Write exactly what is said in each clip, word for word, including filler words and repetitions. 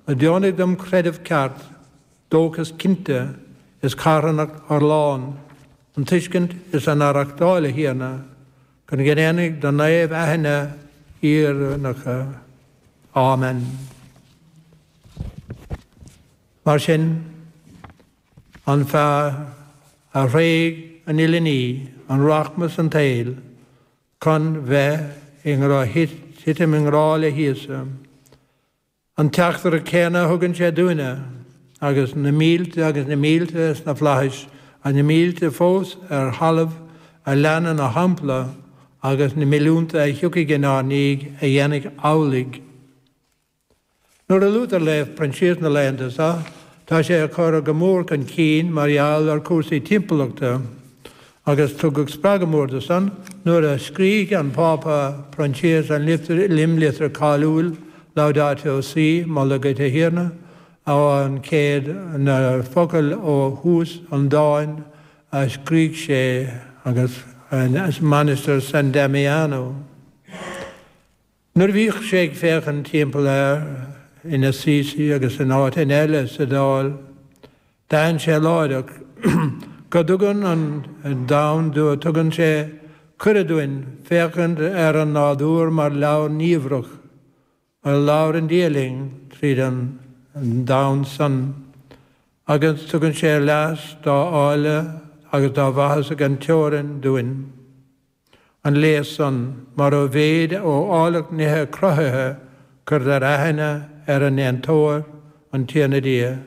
a deonaigh dom creideamh ceart, dóchas cinnte is carthanacht fhorlán, an tuiscint is an aireachtáil, a Thiarna, chun go ndéanfaidh do naoimh aithne fhírinneacha. Amen. Mar sin, an fear a thréig an uile ní, an rachmas an tsaoil, chun bheith i ngrá, titim i ngrá le hÍosa, an teachtaireacht chéanna a thugann sé dúinne, agus na mílte agus na mílte sna flaithis, agus na mílte fós ar thalamh a leanann a shampla, agus na milliúnta a thiocfaidh inár ndiaidh a dhéanfaidh amhlaidh. Nuair a luaitear Naomh Proinsias na laethanta seo, tá sé á chur go mór chun cinn mar gheall ar chúrsaí timpeallachta, agus tugadh spreagadh mór dó san nuair a scrígh an Pápa Proinsias an imlitir cáiliúil Laudato Si, Moladh duit a Thiarna, an chéad na focail ó thús an dáin a scrígh sé agus as Mainistir San Damiano. Nuair a bhíodh sé ag féachaint timpeall air in Assisi agus in áiteanna eile sa Iodáil, d'aithin sé láithreach go dtugann an domhan dó, tugann sé cuireadh dúinn féachaint ar an nádúr mar leabhar niamhrach a labhrann Dia linn tríd an domhan san, agus tugann sé léas dá áille agus dá mhaitheas gan teorainn dúinn. An léas san, mar ó mhéid ó áilleacht nithe cruthaithe cuirtear aithne ar an ndéantóir, an Tiarna Dia.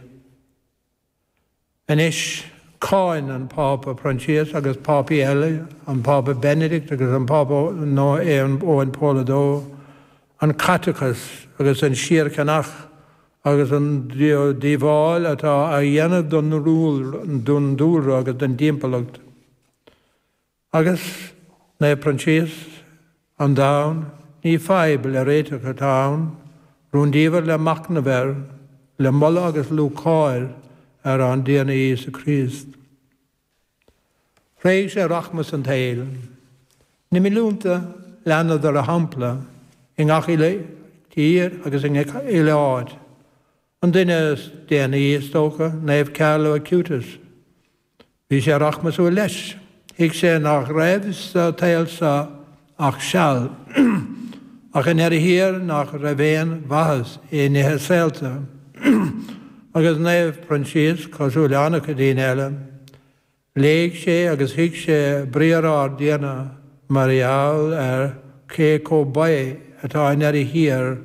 Anois, cáin an Pápa Proinsias agus pápaí eile, an Pápa Benedict agus an Pápa Eoin Pól a Dó, an caiteachas agus an síorcheannach agus an díobháil atá á dhéanamh don dúlra agus don dtimpeallacht. Agus Naomh Proinsias, an domhan, ní fadhb le réiteach atá ann, rúndiamhair le machnamh air, le moladh agus lúcháir ar ár dTiarna Íosa Críost. Thréig sé rachmas an tsaoil. Na milliúnta leanadar a shampla i ngach uile tír agus i ngach uile áit. An duine is déanaí, is dócha, Naomh Carlo Acutis. Bhí sé rachmasúil leis. Thuig sé nach raibh sa tsaol seo ach seal, ach i ndeireadh thiar nach raibh aon mhaitheas i nithe saolta. Agus Naomh Proinsias, cosúil le an-chuid daoine eile, léigh sé agus thuig sé briathar ár dTiarna mar gheall ar cé chomh baoth atá i ndeireadh thiar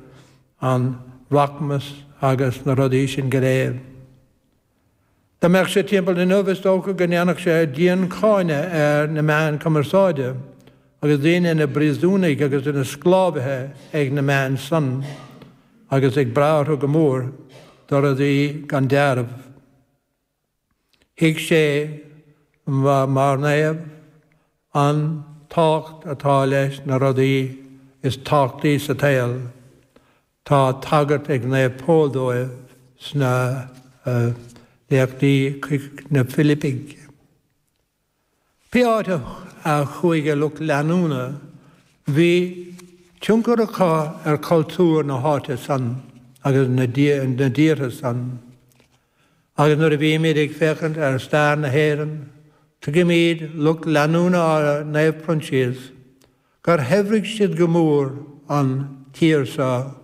an rachmas agus na rudaí sin go léir. Dá mbeadh sé timpeall inniu, is dócha go ndéanfadh sé diancháineadh ar na meáin chumarsáide agus daoine ina bpríosúnaigh agus ina sclábhaithe ag na meáin san agus ag brath orthu go mór do rudaí gan dealramh. Thuig sé, mar naomh, an tábhacht atá leis na rudaí is tábhachtaí sa tsaol. Tá tagairt ag Naomh Pól dóibh sna léachtaí chuig na Filipigh. Pé áit a chuaigh a lucht leanúna, bhí tionchar acu ar chultúr na háite san agus na dtíortha san. Agus nuair a bhímid ag féachaint ar stair na hÉireann, tuigimid, lucht leanúna Naomh Proinsias, gur shaibhrigh siad go mór an tír seo,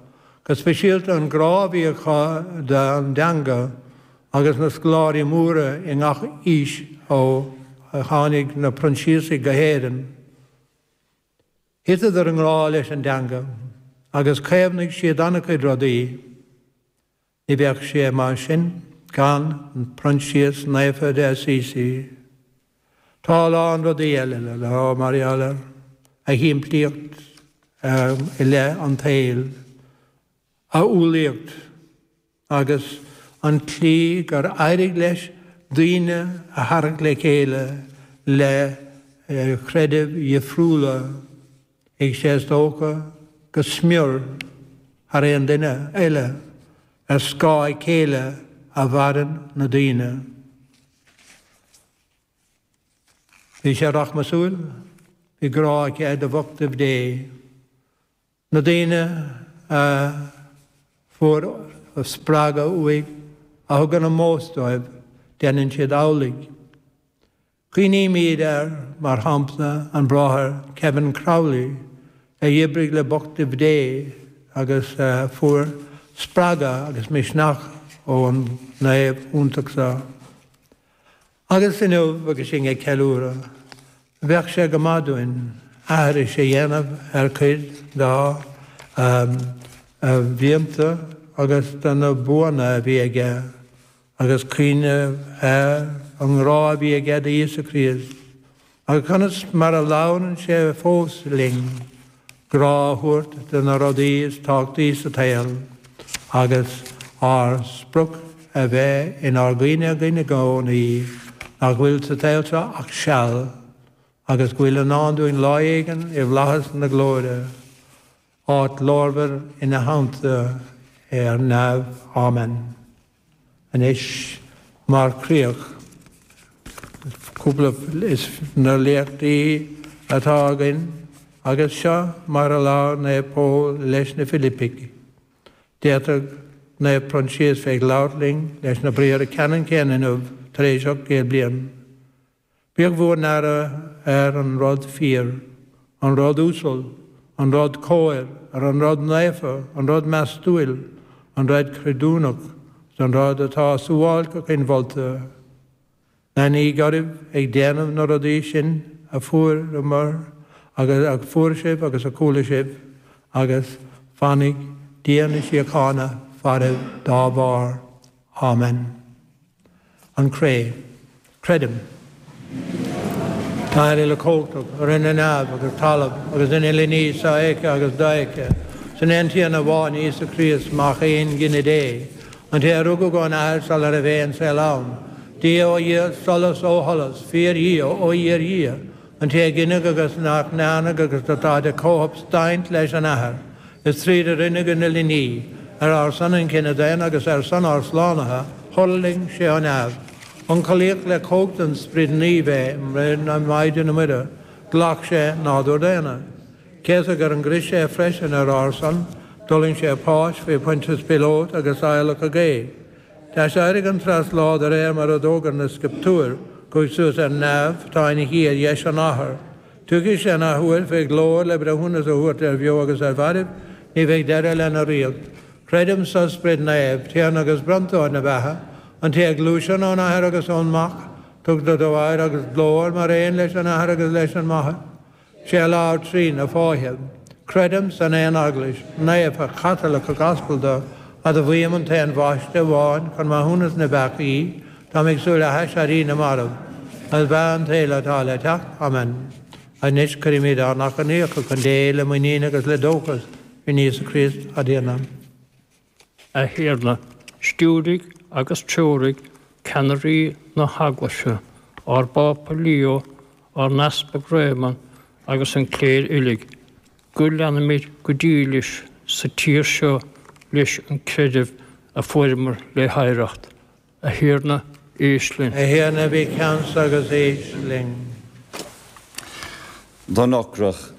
go speisialta an grá a bhí acu don dteanga agus na scoláirí móra i ngach aois ó tháinig na Proinsiasaigh go hÉirinn. Thiteadar i ngrá leis an dteanga agus chaomhnaigh siad an-chuid rudaí. Ní bheadh sé mar sin gan Proinsias Naofa de Assisi. Tá a lán rudaí eile le rá mar gheall air, a shimplíocht i leith an tsaoil, a umhlaíocht agus an tslí gur éirigh leis daoine a tharraingt le chéile le creidimh dhifriúla. Thuig sé is dócha go smior thar aon duine eile ar scáth a chéile a mhaireann na daoine. Bhí sé rachmasúil, bhí grá aige do bhochtaibh Dé. Na daoine a fuair spreagadh uaidh, a thugann ómós dóibh, déanann siad amhlaidh. Cuimhnímid ar, mar shampla, an Bráthair Kevin Crowley, a d'oibrigh le bochtaibh Dé agus a fuair spreagadh agus misneach ón naomh iontach seo. Agus inniu agus sinn ag ceiliúradh, bheadh sé go maith dúinn aithris a dhéanamh ar chuid dá mhianta agus de na buanna a bhí aige, agus cuimhneamh ar an ngrá a bhí aige d'Íosa Críost, agus conas mar a labhrann sé fós linn, grá a thabhairt do na rudaí is tábhachtaí sa tsaol, agus ár sprioc a bheith inár gcuimhne againn i gcónaí nach bhfuil sa tsaol seo ach seal, agus go bhfuil i ndán dúinn lá éigin i bhflaitheas na glóire, áit ghlórmhar ina theannta ar neamh. Amen. Anois, mar chríoch, cúpla de na léachtaí atá againn, agus seo mar a labhair Naomh Pól leis na Filipigh. D'fhéadfadh Naomh Proinsias bheith ag labhairt linn leis na briathra ceannann céanna inniu tar éis ocht gcéad bliain. Bíodh bhur n-aire ar an rud fíor, an rud uasal, an rud cóir, ar an rud naofa, an rud meastúil, an rud creidiúnach, is an rud atá suáilceach inmholta. Leanaíg oraibh ag déanamh na rudaí sin a fuaireamar agus a fuair sibh agus a chuala sibh, agus fanfaidh Dia na síochána faraibh dá bharr. Amen. An Cré. Creidim. San Athair uilechumhachtach, a rinne neamh agus talamh agus an uile ní sofheicthe agus dofheicthe, san aon Tiarna amháin, Íosa Críost, Mac aongine Dé, an té a rugadh ón Athair sula raibh aon saol ann, Dia ó Dhia, solas ó sholas, fíor-Dhia ó fhíor-Dhia, an té a gineadh agus nach ndearnadh agus atá de chomhshubstaint leis an Athair, Is tríd a rinneadh an uile ní, ar ár son an chine daonna agus ar son ár slánaithe, thuirling sé ó neamh. Ionchollaíodh le cumhacht an Sprid Naoimh é i mbroinn na Maighdine Muire, ghlac sé nádúr daonna. Céasadh ar an gcrois é freisin ar ár son, d'fhulaing sé a pháis faoi Phointias Píolót agus adhlacadh é. D'aiséirigh an treas lá de réir mar a d'fhógair na Scrioptúir, chuaigh suas ar neamh, tá ina shuí ar dheis an Athar. Tiocfaidh sé an athuair fé ghlóir le breithiúnas a thabhairt ar bheo agus ar mhairbh, ní bheidh deireadh lena ríocht. Creidim sa Sprid Naomh, Tiarna agus bronntóir na beatha, an té a ghluaiseann ón Athair agus ón Mac, tugtar dó adhradh agus glóir mar aon leis an Athair agus leis an Máthair. Sé a labhair trí na fáithe. Creidim san aon Eaglais, naofa, Chaitliceach, Aspalda, admhaím an t-aon bhaisteadh amháin chun maithiúnas na bpeacaí, Táim ag súil le haiséirí na marbh, agus beatha an tsaoil atá le teacht. Amen. Anois cuirimid ár n-achainíocha chun Dé le muinín agus le dóchas in Íosa Críost ár dTiarna. A Thiarna, stiúraigh agus treoraigh ceannairí na hEaglaise, ár bPápa Leo, ár nEaspag Réamonn agus an chléir uilig, go leanfaimid go dílis sa tír seo leis an creideamh a fuaireamar le hoidhreacht. A Thiarna, éist linn. A Thiarna, bí ceansa agus éist linn. Don ocrach,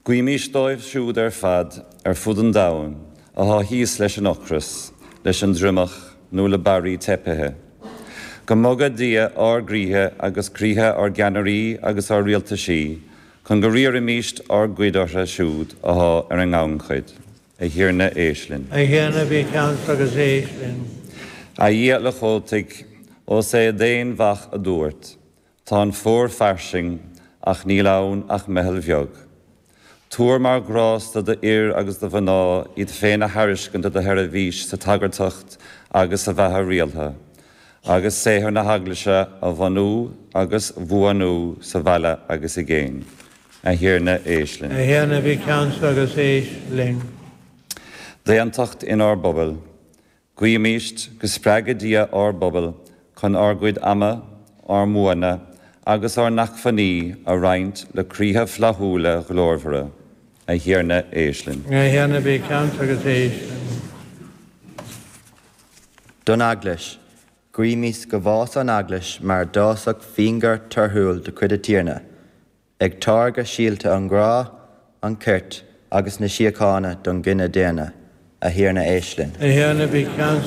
guímís dóibh siúd ar fad ar fud an domhain athá thíos leis an ocras, leis an dtriomach nó le barraí teipithe. Go mboga Dia ár gcroíthe agus croíthe ár gceannairí agus ár rialtaisí chun go riarfaimíst ár gcuid orthu siúd athá ar an ngannchuid. A Thiarna, éist linn. A Thiarna, bí ceansa agus éist linn. A Dhia uilechumhachtaigh, ós é d'aon Mhac a dúirt, Tá an fómhar fairsing, ach níl ann ach meitheal bheag. Tabhair mar ghrásta do fhir agus do mhná iad féin a thairiscint do do sheirbhís sa tsagartacht agus sa bheatha rialtha, agus saothar na hEaglaise a bhunú agus bhuanú sa bhaile agus i gcéin. A Thiarna, éist linn. A Thiarna, bí ceansa agus éist linn. D'aontacht inár bpobail. Guímíst go spreaga Dia ár bpobail chun ár gcuid ama, ár mbuanna agus ár n-acmhainní a roinnt le croíthe flaithiúla glórmhara. A Thiarna, éist linn. A Thiarna, bí ceansa agus éist linn. Don Eaglais. Guímís go bhfása an Eaglais mar d'fhásfadh fíonghort torthúil de chuid an Tiarna, ag táirgeadh síolta an ghrá, an chirt agus na síochána don gcine daonna. A Thiarna éist linn. A Thiarna bí ceansa